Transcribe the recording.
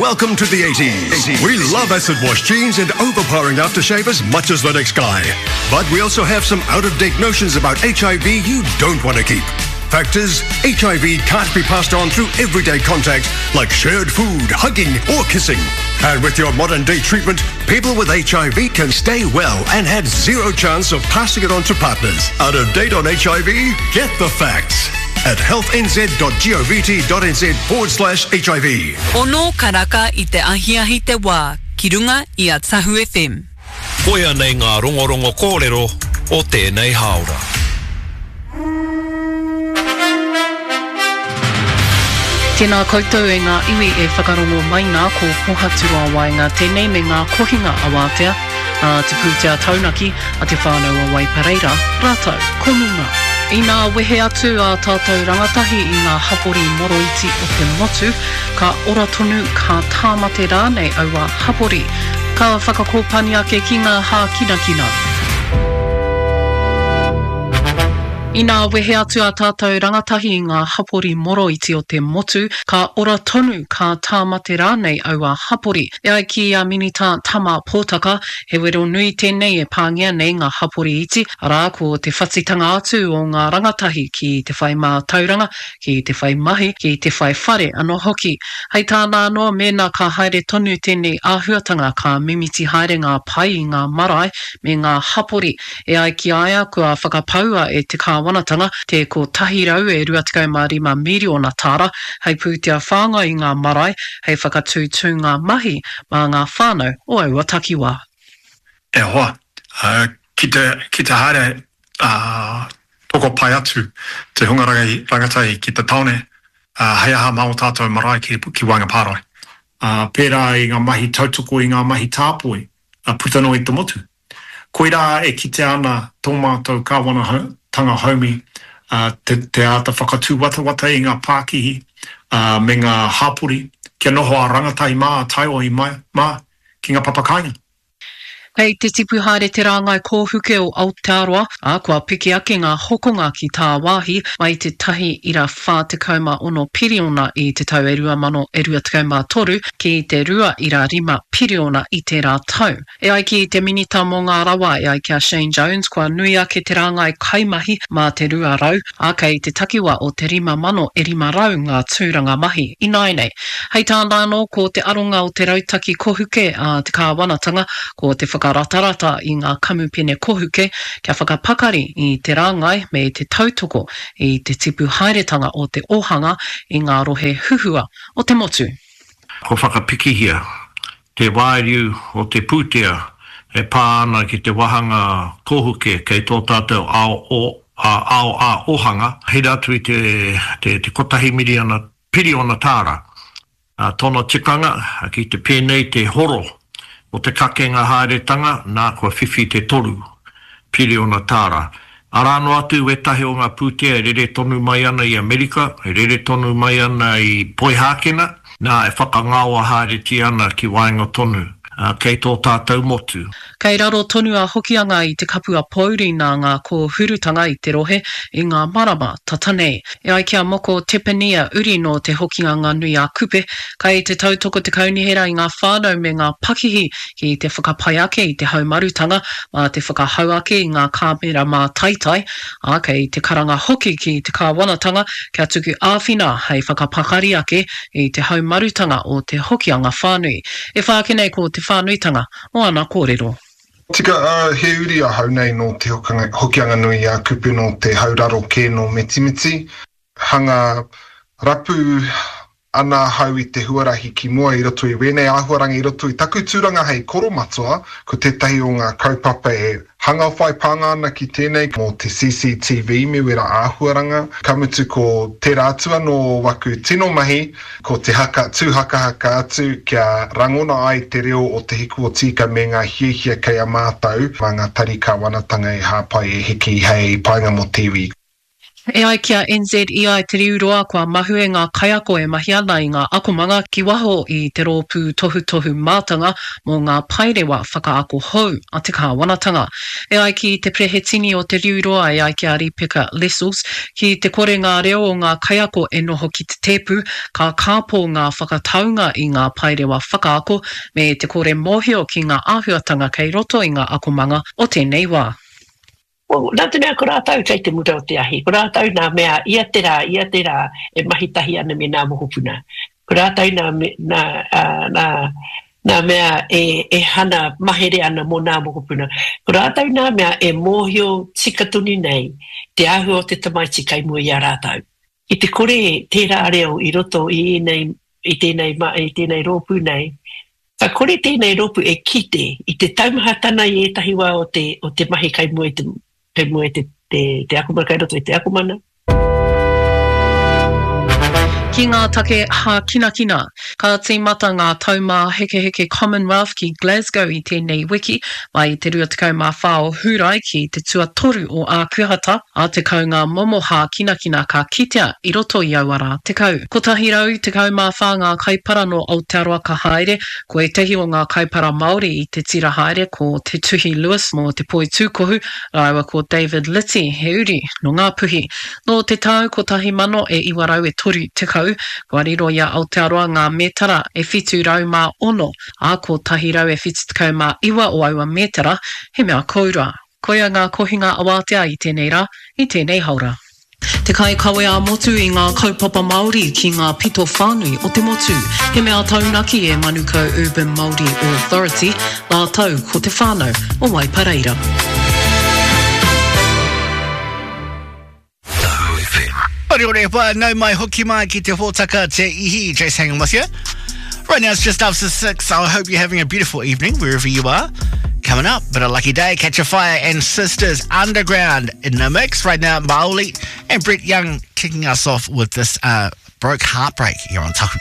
Welcome to the 80s. We love acid wash jeans and overpowering aftershave as much as the next guy. But we also have some out-of-date notions about HIV you don't want to keep. Fact is, HIV can't be passed on through everyday contact like shared food, hugging, or kissing. And with your modern day treatment, people with HIV can stay well and had zero chance of passing it on to partners. Out of date on HIV? Get the facts at healthnz.govt.nz forward slash HIV. Ono karaka i te ahiahi te wā ki runga i a Tahu FM. Koia nei ngā rongorongo kōrero o tēnei hāora. Tēnā koutou e ngā iwi e whakarongo mai nā, ko Pohaturoa Waenga tēnei me ngā kohinga awātea a te pūtea taunaki a Te Whānau o Waipareira rātou ko Munga. Inā wehe atu ā tātou rangatahi i ngā hapori moroiti o te motu, ka ora tonu, ka tāmate rānei aua hapori. Ka whakakōpani ake ki ngā hākinakina. Inā wehe atu ā tātou rangatahi i ngā hapori moroiti o te motu, ka ora tonu, ka tāmate rānei aua hapori. E ai ki a Minita Tama Potaka, he wero nui tēnei e pāngia nei ngā hapori iti, arā, ko te whatitanga atu o ngā rangatahi ki te whai mātauranga, ki te whai mahi, ki te whai whare anō hoki. Hei tāna anō, mēnā ka haere tonu tēnei āhuatanga ka mimiti haere ngā pai i ngā marae me ngā hapori. E ai ki a ia, kua whakapaua e te kāwanatanga te 125 miriona tāra hei pūtea whāngai i ngā marae, hei whakatū tūnga mahi mā ngā whānau o aua takiwā. E hoa, ki te, ki te haere tokopai atu te hunga rangatahi ki te taone, hei aha mā ō tātou marae ki, ki waenga pārae. Pērā i ngā mahi tautoko i ngā mahi tāpoi puta noa i te motu. Koirā e kitea ana tō mātou kāwanatanga haumi te āta whakatūwatawata i ngā pākihi me ngā hapori kia noho a rangatahi mā, a taiohi mā ki ngā papakāinga. Kei te tipu haere te rāngai kōhuke o Aotearoa, ā, kua piki ake ngā hokonga ki tāwāhi mai i te 1.46 piriona i te tau e 2023 ki te 2.5 piriona i tērā tau. E ai ki te Minita mō ngā Rawa, e ai ki a Shane Jones, kua nui ake te rāngai kaimahi mā te 200, ā, kei te takiwa o te 5,500 ngā tūranga mahi ināianei. Hei tāna anō, ko te aronga o te rautaki kohuke a te kāwanatanga, ko te whakaratarata i ngā kamupene kohuke kia whakapakari i te rāngai me te tautoko i te tipu haeretanga o te ōhanga i ngā rohe huhua o te motu. Kua whakapikihia te wāriu o te pūtea e pā ana ki te wāhanga kōhuke kei tō tātou ao ao ā-ōhanga, hira atu i te te kotahi miriana piriona tāra. Tōna tikanga, ki te pēnei te horo o te kakenga haeretanga, nā kua whiwhi te toru piriona tāra. Arā noa atu wētahi o ngā pūtea e rere tonu mai ana i Amerika, e rere tonu mai ana i Poihākena, nā, e whakangaoa haeretia ana ki waenga tonu, kei tō tātou motu. Kei raro tonu a Hokianga i te kapua pōuri nā ngā kōhurutanga i te rohe i ngā marama tata nei. E ai ki a Moko Tepania, uri nō Te Hokianga-nui-a-Kupe, kei te tautoko te kaunihera i ngā whānau me ngā pakihi ki te whakapai ake i te haumarutanga mā te whakahau ake i ngā kāmera mātaitai, ā, kei te karanga hoki ki te kāwanatanga kia tuku āwhina hei whakapakari ake i te haumarutanga o te Hokianga whānui. E whā ake nei ko te whānuitanga o ana kōrero. Tika, ā, he uri ahau nei nō Te Hokianga-nui-a-Kupe nō te hauraro kē nō Mitimiti. Hanga rapu ana ahau i te huarahi ki mua i roto i wēnei āhuaranga i roto i taku tūranga hei koromatua, ko tētahi o ngā kaupapa e hanga whai pānga ana ki tēnei mō te CCTV me wera āhuaranga, ka mutu ko tērā atu anō o waku tino mahi ko te haka tū hakahaka atu kia rangona ai te reo o Te Hiku o Tīka me ngā hiahia kei a mātou mā ngā tari kāwanatanga e hāpai e hiki hei painga mō te iwi. E ai ki a NZEI Te Riu Roa kua mahue ngā kaiako e mahi ana i ngā akomanga ki waho i te rōpū tohutohu mātanga mō ngā paerewa whakaako hou a te kāwanatanga. E ai ki te Perehetini o Te Riu Roa e ai ki a Ripeka Lessels, ki te kore ngā reo o ngā kaiako e noho ki te tēpu, ka kāpō ngā whakataunga i ngā paerewa whakaako me te kore mōhio ki ngā āhuatanga kei roto i ngā akomanga o tēnei wā. Well, nā te mea ko rātou kei te mura o te ahi, ko rātou nā mea ia te rā, ia te rā e mahi tahi ana me nā mokopuna. Ko rātou nā, nā, nā, nā mea e, e hana mahere ana mō nā mokopuna. Ko rātou nā mea e mōhio tika tonu nei te āhua o te tamaiti kei mua i a rātou. Ki te kore tērā reo i roto i ēnei, i tēnei, i tēnei rōpū nei, Ka kore tēnei rōpū e kite i te taumahatana i ētahi wā o te, o te mahi kai mua i te, kai mua i te, te, te akomana, kai roto i te akomana. Ki ngā take hākinakina. Ka tīmata ngā Taumāhekeheke Commonwealth ki Glasgow i tēnei wiki, mai i te 24 o Hūrae ki te tuatoru o Ākuhata, ā, 10 ngā momo hākinakina ka kitea i roto i aua rā 10. 114 ngā kaipara nō Aotearoa ka haere, ko ētahi o ngā kaipara Māori i te tira haere ko Te Tuhi Lewis mō te poitūkohu rāua ko David Liti he uri nō Ngāpuhi. Nō te tau 1930, kua riro i a Aotearoa ngā mētara e 706, ā, 179 o aua mētara he mea koura. Koia ngā kohinga awātea i tēnei rā, i tēnei haora. Te kaikawe ā-motu i ngā kaupapa Māori ki ngā pito whānui o te motu. He mea taunaki e Manukau Urban Māori Authority rātou ko te whānau o Waipareira. Ore ore wā, nau mai hoki mai ki te hōtaka Te Ihi, Jace hanging with you. Right now it's just after six. I hope you're having a beautiful evening wherever you are. Coming up, but a lucky day, Catch a Fire and Sisters Underground in the mix. Right now, Maoli and Brett Young kicking us off with this uh, broke heartbreak here on Tahu.